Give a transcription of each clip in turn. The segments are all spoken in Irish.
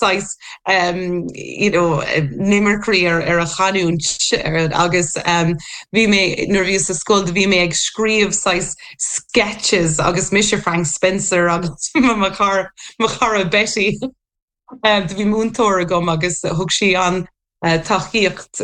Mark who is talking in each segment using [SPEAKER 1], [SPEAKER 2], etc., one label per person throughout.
[SPEAKER 1] saghas you know n-imirceoirí ar ar a chanúint agus bhí mé nuair a bhíos sa scoil do bhí mé ag scríobh saghas sketches agus mise Frank Spencer agus mo chara mo chara Betty. Do bhí múinteoir agam agus thug sí an tacaíocht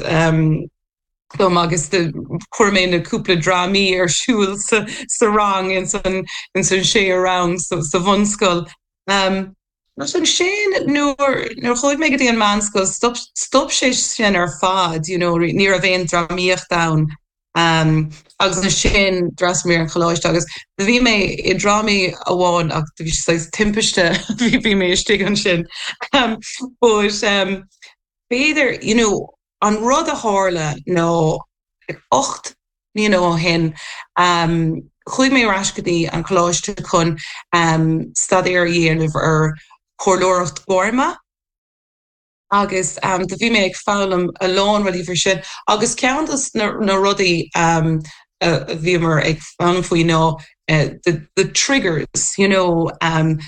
[SPEAKER 1] dom agus do chuir mé na cúpla drámaí ar siúl sa sa rang ins an ins an séú rang sa sa bhunscoil. Agus ansin nuair nuair chuaigh mé go dtí an meánscoil stop stop sé sin ar fad you know ní raibh aon drámaíocht ann. Agus ansin d'fhreastail mé ar an choláiste agus do bhí mé i drámaí amháin ach do bhí sé saghas timpiste bhí mé istigh ansin. But b'fhéidir you know an rud a tharla ná 8 mbliana ó shin chuaigh mé ar ais go dtí an choláiste chun staidéar a dhéanamh ar chomhairleoireacht gairme. agus do bhí mé ag foghlaim a lán rudaí faoi sin agus ceann dos na rudaí a bhíomar ag foghlaim faoi ná the the triggers you know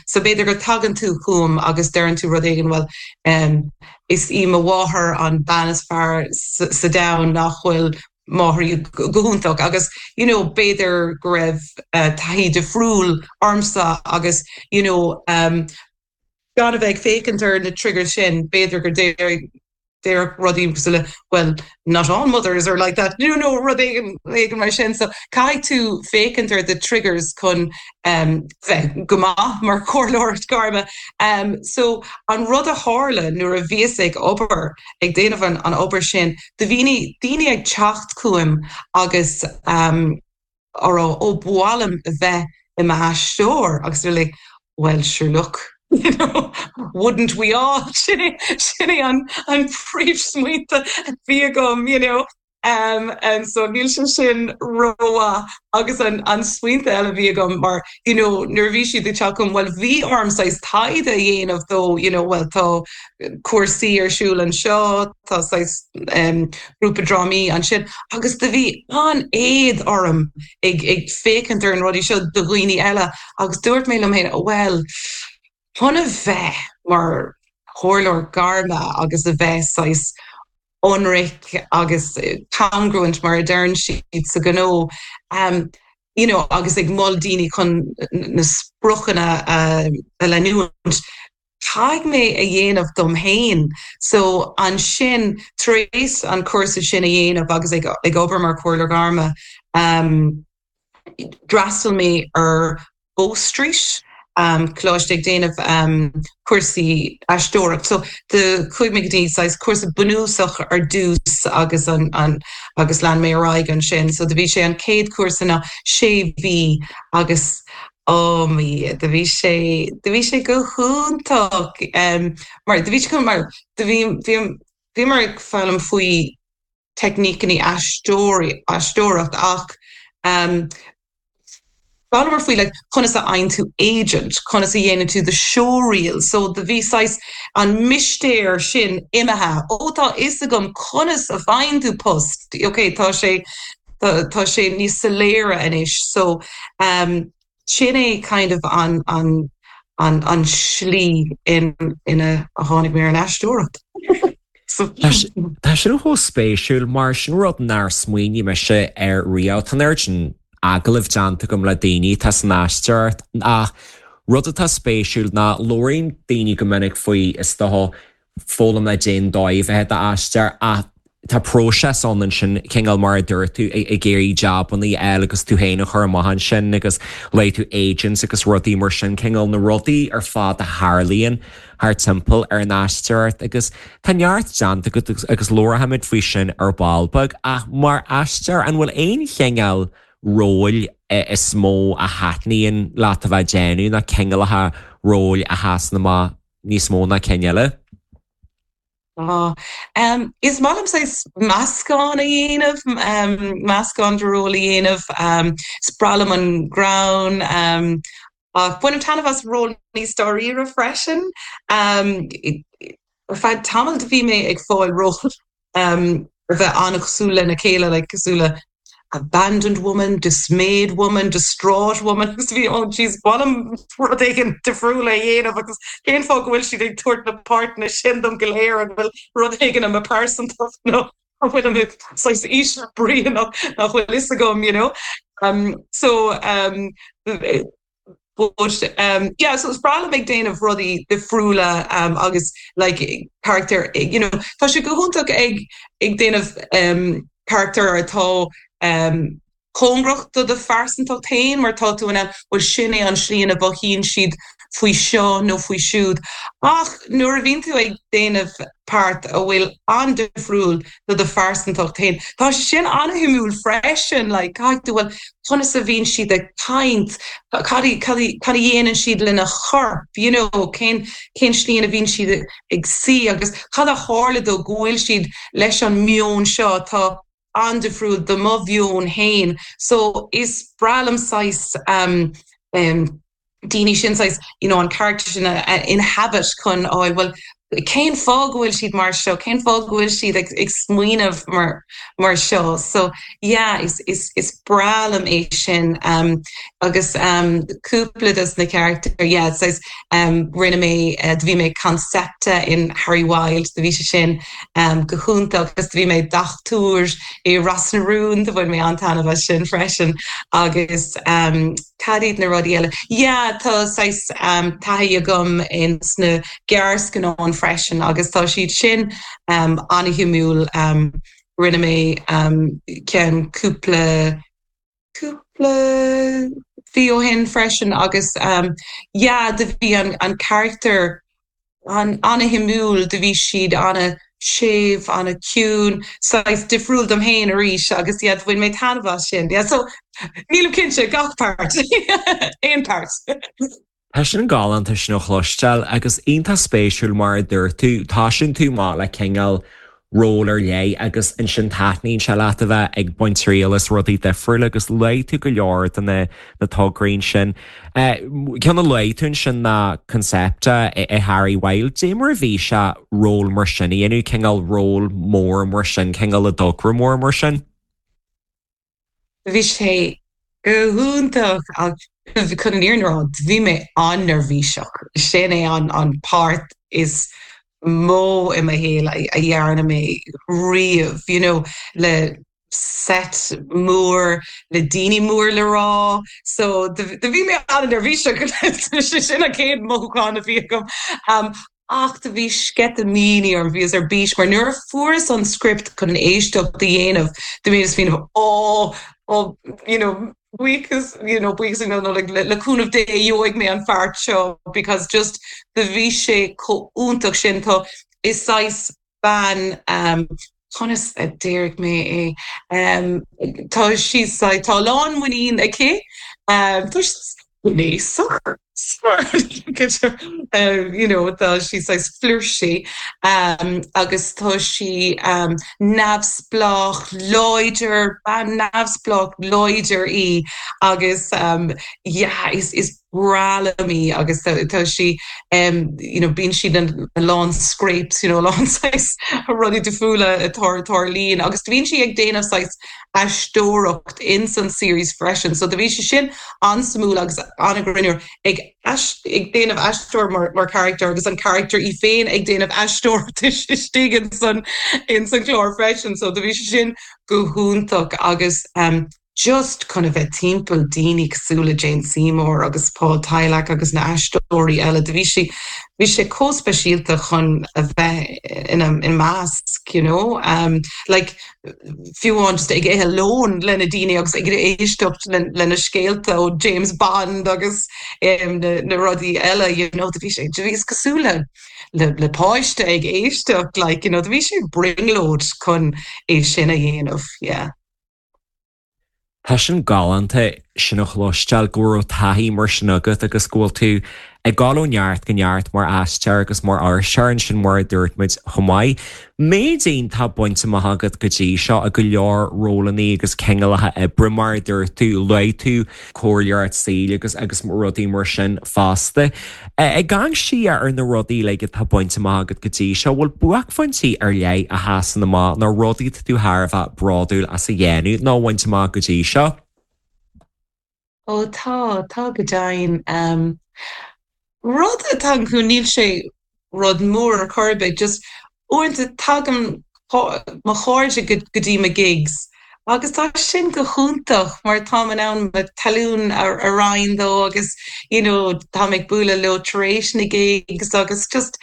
[SPEAKER 1] so b'fhéidir go tagann tú chugam agus deireann tú rud éigin bhuel is í mo mháthair an bean is fearr sa domhan nach bhfuil máithrí go hiontach agus you know b'fhéidir go raibh taithí difriúil ormsa agus you know gan a bheith ag féachaint ar na triggers sin, b'fhéidir go déarfadh rudaí cosúil le well, not all mothers are like that, you know, rud éigin éigin mar sin. So caithfidh tú féachaint ar the triggers chun bheith go maith mar chomhairleoir gairme. So an rud a tharla nuair a bhíos ag obair, ag déanamh an an obair sin, do bhí daoine ag teacht chugam agus á rá, ó, ba mhaith liom a bheith i m'aisteoir agus they're like, well sure look, you know, wouldn't we all? Sin é, sin é an, an príomhsmaointe a bhí agam, you know. Um, and so níl sé sin rómhaith agus an, an smaointe eile a bhí agam mar, you know, nuair a bhí siad ag teacht chugam, well bhí orm saghas taighde a dhéanamh dó, you know, well tá cúrsaí ar siúl anseo, tá saghas grúpa drámaí ansin agus do bhí an-éad orm ag ag féachaint ar an rudaí seo do dhaoine eile agus dúirt mé liom féin, bhuel, chun a bheith mar chomhairleoir gairme agus a bheith saghas ionraic agus congruent mar a deireann siad sa ghnó, you know, agus ag mol daoine chun na spriocanna a leanúint, Caithfidh mé a dhéanamh dom fhéin. So ansin, tar éis an cúrsa sin a dhéanamh agus ag ag obair mar chomhairleoir gairme, d'fhreastail mé ar Bow Street, coláiste ag déanamh cúrsaí aisteoireacht. So do chuaigh mé go dtí saghas cúrsa bunúsach ar dtús agus an an agus lean mé ar aghaidh ansin. So do bhí sé an chéad chúrsa ná sé mhí agus Oh mo Dhia, do bhí sé, do bhí sé go hiontach mar, do bhí sé go, mar do bhí, bhí, bhíomar ag foghlaim faoi teicníceanna aisteoirí, aisteoireacht ach d'fhoghlaimeamar faoi like conas a fhaigheann tú agent, conas a dhéanann tú the showreel, so do bhí saghas an mistéir sin imithe, ó tá fhios agam conas a fhaigheann tú post, ok tá sé, tá sé níos soiléire anois so sin é kind of an an an an slí in ina a tháinig mé ar an aisteoireacht.
[SPEAKER 2] Tá sin chomh spéisiúil mar sin rud nár smaoinigh mise air riamh. Tá an oiread sin agallamh déanta agam le daoine atá san aisteoireacht ach rud atá spéisiúil ná labhraíonn daoine go minic faoi is dócha foghlaim le cén dóigh a bheith i d'aisteoir ach tá próiseas ann ansin, cineál mar a dúirt tú, ag iarraidh jabanna a fháil agus tú féin a chur amach ansin agus luaigh tú agents agus rudaí mar sin, cineál na rudaí ar fad a tharlaíonn thar timpeall ar an aisteoireacht agus tá neart déanta agat agus labharfaimid faoi sin ar ball beag ach mar aisteoir an bhfuil aon chineál róil is mó a thaitníonn leat a bheith ag déanamh nó cineálacha róil a sheasann amach níos mó ná cinn eile?
[SPEAKER 1] Tá. Is maith liom saghas meascán a dhéanamh, meascán de róil a dhéanamh. Is breá liom an greann, ach bainim taitneamh as ról níos dáiríre freisin. Ar feadh tamaill do bhí mé ag fáil ról a bheith an-chosúil lena chéile, like cosúil le. abandoned woman, dismayed woman, distraught woman agus bhí oh jeez ba mhaith liom rud éigin difriúil a dhéanamh agus cén fáth go bhfuil siad ag tabhairt na páirteanna sin dom go léir an bhfuil rud éigin i mo pearsantacht nó an bhfuil mé saghas íseal brí nach bhfuil fhios agam you know um so um But um yeah so is breá liom ag déanamh rudaí difriúla um agus like carachtar you know tá sé go hiontach ag ag déanamh um carachtar atá um cóngarach do do phearsantacht féin mar tá tú in ann bhuel sin é an slí ina mhothaíonn siad faoi seo nó faoi siúd ach nuair a bhíonn tú ag déanamh páirt a bhfuil an-difriúil do do phearsantacht féin. Tá sé sin an-shuimiúil freisin, like, caithfidh tú, bhuel, conas a bhíonn siad ag caint, cad, cad, cad a dhéanann siad lena chorp, you know, cén, cén slí ina bhíonn siad ag suí agus cad a tharla dó go bhfuil siad leis an meon seo atá an-difriúil do mo mheon féin. So, is breá liom saghas, um, um, daoine sin saghas, you know, an character sin a inhabit chun fháil, bhuel, cén fáth go bhfuil siad mar seo, cén fáth go bhfuil siad ag, ag smaoineamh mar, mar seo. So, yeah, is, is, is breá liom é sin. Um, agus um, cúpla dos na character, yeah, saghas, um, rinne mé, uh, do bhí mé Concepta in Harry Wild, do bhí sé sin um, go hiontach agus do bhí mé dochtúir i Ros na Rún, do bhain mé an-taitneamh as sin freisin. Agus um, Cad iad na rudaí eile? Yeah, tá saghas taithí agam ins na gearrscannáin freisin agus tá siad sin an-shuimiúil. Rinne mé ceann cúpla, cúpla mhí ó shin freisin agus yeah, do bhí an charachtar an-shuimiúil, do bhí siad an-séimh, an-ciúin, saghas difriúil dom féin arís agus yeah, do bhain mé taitneamh as sin. Yeah, so nílim cinnte, gach páirt, aon páirt.
[SPEAKER 2] Tá sin galánta sin a chloisteáil agus iontach spéisiúil mar a dúirt tú, tosaíonn tú amach le cineál ról ar leith agus ansin taitníonn sé leat a bheith ag baint triail as rudaí difriúla agus luaigh tú go leor de na na tograí ansin. Ceann a luaigh tú ansin ná Concepta i Harry Wild. Dé mar a bhí sé ról mar sin a dhéanamh, cineál ról mór mar sin, cineál i dtogra mór mar sin?
[SPEAKER 1] Bhí sé go hiontach ach chun an fhírinne a rá, bhí mé an-neirbhíseach. Sin é an páirt is mó i mo shaol a dhearna mé riamh, you know, le set mór, le daoine mór le rá. So do bhí mé an-neirbhíseach, sin an chéad mothúchán a bhí agam. Ach do bhí sceitimíní orm, bhíos ar bís, mar nuair a fuaireas an script chun an éisteacht a dhéanamh, do bhíos ag smaoineamh, oh, oh, you know, buíochas, you know, buíochas, you know, no, like, le, le cúnamh Dé gheobhaidh mé an pháirt seo, because just do bhí sé chomh iontach sin, tá, is saghas bean, um, conas a déarfaidh mé é, um, tá sí saghas, tá a lán muinín aici, um, tá sí gnéasach, you know, tá sí saghas flirty, um, agus tá sí, um, neamhspleách, láidir, bean neamhspleách láidir í agus, um, yeah, is, is breá liom í agus tá sí you know bíonn sí in a lán scrapes you know a lán saghas rudaí difriúla a tarlaíonn agus bíonn sí ag déanamh saghas aisteoireacht ins an series freisin so do bhí sé sin an-suimiúil agus an-ghreannmhar ag ag déanamh aisteoir mar mar character agus an character í féin ag déanamh aisteoireacht istigh ins an ins an chlár freisin so do bhí sé sin go hiontach agus um just chun a bheith timpeall daoine cosúil le Jane Seymour agus Paul Tylak agus na aisteoirí eile, do bhí sé, bhí sé chomh speisialta chun a bheith ina measc, you know. Um, like, fiú amháin just ag ithe lón le na daoine agus ag éisteacht le na scéalta ó James Bond agus um, na, na rudaí eile, you know, do bhí sé, do bhí is cosúil le le, le páiste ag éisteacht, like, you know, do bhí sé brionglóid chun é sin a dhéanamh, yeah.
[SPEAKER 2] Tá sin galánta sin a chloisteáil go raibh taithí mar sin agat agus go bhfuil tú ag dul ó neart go neart mar aisteoir agus mar fhuirseoir ansin mar a dúirt muid chomh maith. Méid iontach bainte amach agat go dtí seo i go leor rólannaí agus cineálacha oibre mar a dúirt tú, luaigh tú comhairleoireacht saoil agus agus rudaí mar sin fosta. Ag amharc siar ar na rudaí uilig atá bainte amach agat go dtí seo, bhfuil buaicphointí ar leith a sheasann amach nó rudaí atá tú thar a bheith bródúil as a dhéanamh nó a bhaint amach go dtí seo?
[SPEAKER 1] Ó tá, tá go deimhin. Rud atá ann, níl sé rud mór ar chor ar bith, just uaireanta tagann mo chairde go dtí mo gigs agus tá sin go hiontach mar táim in ann mo talún a roinnt leo agus you know táim ag bualadh leo tar éis na gigs agus just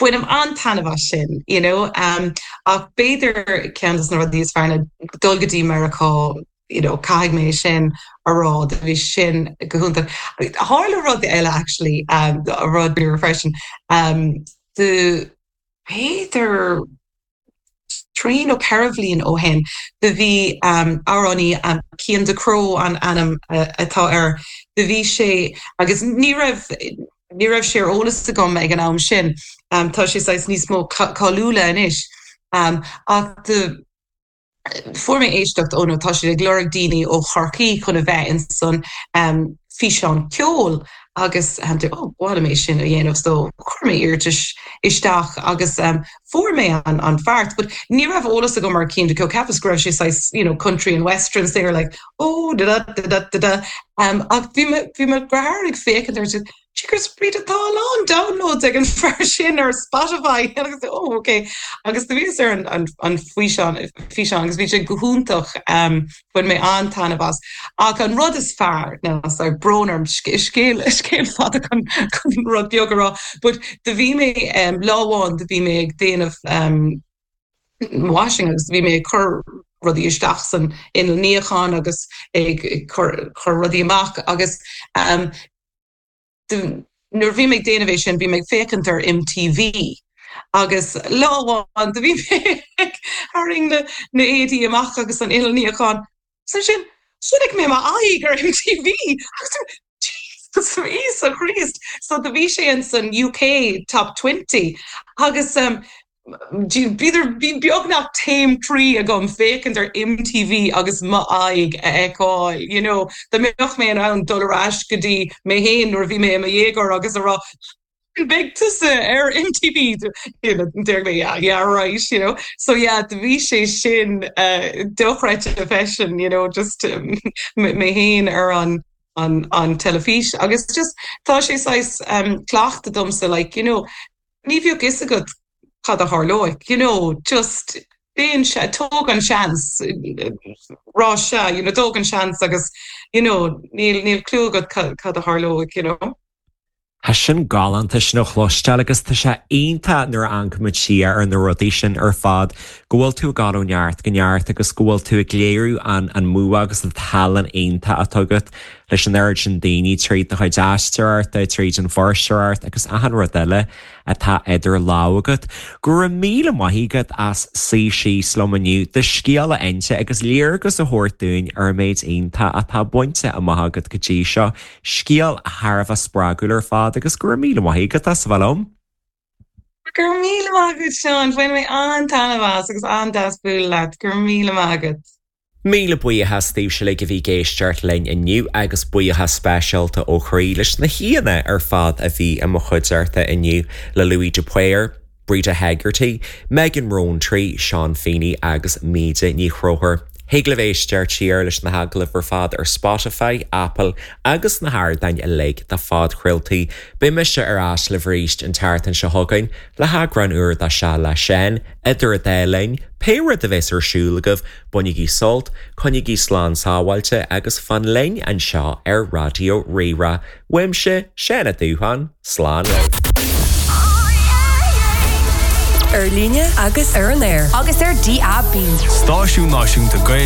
[SPEAKER 1] bainim an-taitneamh as sin you know. Ach b'fhéidir ceann de na rudaí is fearr ná dul go dtí Meiriceá you know, caithfidh mé sin a rá, do bhí sin go hiontach. Tharla rud eile actually, um, rud beag freisin, um, do b'fhéidir trí nó ceithre bhliain ó shin, do bhí um, amhránaí um, Cian Ducrot an ainm uh, atá air, do bhí sé agus ní raibh ní raibh sé ar eolas agam ag an am sin, um, tá sé saghas níos mó cáiliúla anois, um, ach do Fuair mé éisteacht ó nó tá siad ag lorg daoine ó Chorcaí chun a bheith in san físeán ceoil agus oh ba mhaith liom é sin a dhéanamh so chuir mé iarratas isteach agus fuair mé an an pháirt but ní raibh eolas agam ar Cian Ducrot cheapas go raibh sé saghas you know country and western singer like oh da da da da da da ach bhí mo bhí mo dheartháir ag féachaint air Jeepers Breda tá a lán downloads ag an fear sin ar Spotify agus oh ok agus do bhíos ar an an an físeán físeán agus bhí sé go hiontach um, bhain mé an-taitneamh as. Ach an rud is fearr ná sorry brón orm scéal scéal fada chun chun rud beag a rá but do bhí mé um, lá amháin do bhí mé ag déanamh um, washing agus bhí mé ag cur rudaí isteach san inneall níocháin agus ag cur cur rudaí amach agus um, Nuair a bhí mé ag déanamh é sin, bhí mé ag féachaint ar MTV agus lá amháin do bhí mé ag tarraing na na éadaí amach agus an inneall níocháin agus ansin chonaic mé m'aghaidh ar MTV agus Jesus Íosa Chríost! So do bhí sé in san UK Top 20 agus um, B'fhéidir bhí beagnach taom croí agam féachaint ar MTV agus m'aghaidh a fheiceáil, you know. Dá mbeadh mé in ann dul ar ais go dtí mé féin nuair a bhí mé i mo dhéagóir agus a rá beidh tusa ar MTV, déarfaidh mé yeah, yeah right, you know. So yeah, do bhí sé sin dochreidte freisin, you know, just mé féin ar an an an teilifís agus just tá sé saghas cleachtadh domsa like, you know, Ní bheadh fhios agat cad a tharlóidh, you know, just déan, tóg an seans, rá sea, you know, tóg an seans agus, you know, níl, níl clue agat cad a tharlóidh, you know.
[SPEAKER 2] Tá sin galánta sin a chloisteáil agus tá sé iontach nuair a amharcaimid siar ar na rudaí sin ar fad go bhfuil tú ag dul ó neart go neart agus go bhfuil tú ag léiriú an an mbua agus an tallann iontach atá agat leis an oiread sin daoine tríd do chuid aisteoireachta, tríd an bhfuirseoireacht agus achan rud eile atá idir lámha agat. Go raibh míle maith agat as suí síos liom inniu, do scéal a inse agus léargas a thabhairt dúinn ar an méid iontach atá bainte amach agat go dtí seo. Scéal thar a bheith spreagúil ar fad agus go raibh míle maith agat as a bheith liom.
[SPEAKER 1] Go raibh míle maith agat Seán, bhain mé an-taitneamh as agus an-deas bualadh leat. Go raibh míle maith agat.
[SPEAKER 2] Míle buíochas daoibhse uilig a bhí ag éisteacht linn inniu agus buíochas speisialta ó chroí leis na haíonna ar fad a bhí i mo chuideachta inniu, le Louis de Paor, Breda Hegarty, Megan Rowntree, Seán Feeney agus Míde Ní Chonchúir. Thig libh éisteacht siar leis na hagallaimh ar fad ar Spotify, Apple agus na hardáin uilig do phodchraoltaí. Beidh mise ar ais libh arís an tseachtain seo chugainn le heagrán úr de Sea le Seán. Idir an dá linn, pé rud a bheas ar siúl agaibh, bainigí sult, coinnígí slán sábháilte agus fan linn anseo ar Raidió Rí-Rá. Uaimse, Seán Ó Dúcháin, slán libh.
[SPEAKER 3] Ar líne agus ar an aer. Agus ar DAB.
[SPEAKER 4] Stáisiún Náisiúnta Gaeilge.